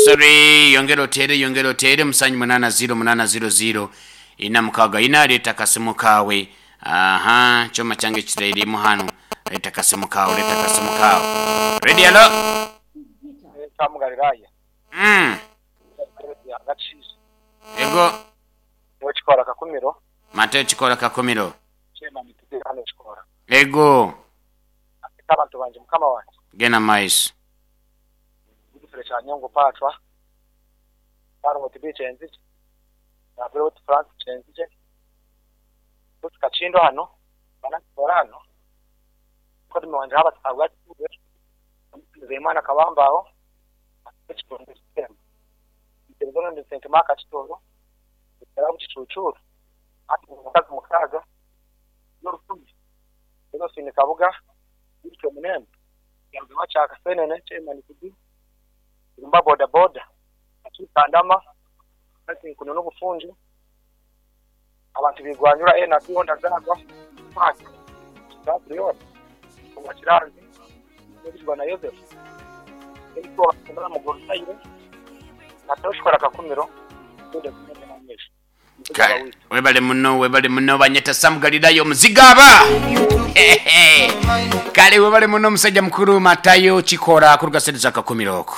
Sorry, yongera oteere, yongera oteere, musanju munaana ziiro munaana ziiro ziiro ina mukaaga ina, leeta akasimu kaawe. Aha, kyoma kyange kirairimu hanu. Leeta akasimu kaawe, leeta akasimu kaawe. Ready, hello? Sam Galilaya. Mm. Ego. Niwe Kikora Kakumiro. Mateo Kikora Kakumiro. Chairman Tude hano Kikora. Ego. Ate abantu bangye mukama wangye. Genda mu maiso. Godfrey Kyanyongo Paatwa, Sarongo Tibii Kyenzigye, Nabiroti Francis Kyenzigye, Ruth Kakindo hano, Bana Kikora hano, Mukodome wangye Herbert Kabwa Kituube, Nzeyimana Kabambaho, Kitundu Kitembo, Muterezo Ronald Sentema Kakitooro, Ekirabu Kicuucuuru, Ati Mukazi Mukaaga, N'orukumi, Josephine Kabuga, Wilson Munembe, Yarugaho Kyakasenene, Chairman Kudu, Irumba Boda Boda, Akiika Ndama, Francis Nkuno n'obufungi, abantu bigwanyura NRB Honda Zagwa, Park, Kitabu Leon, Owa Kiranzi, N'ebijwa na Yosefu, Eric Owa Mugorutaire, na Toshukora Kakumiro, Jude Kumende na Nyesha. Kale webale muno webale muno banyeta Sam Galilaya omuzigaaba. Kale webale muno omusajja mukuru Matayo Kikora kuruga sente za Kakumiro oku.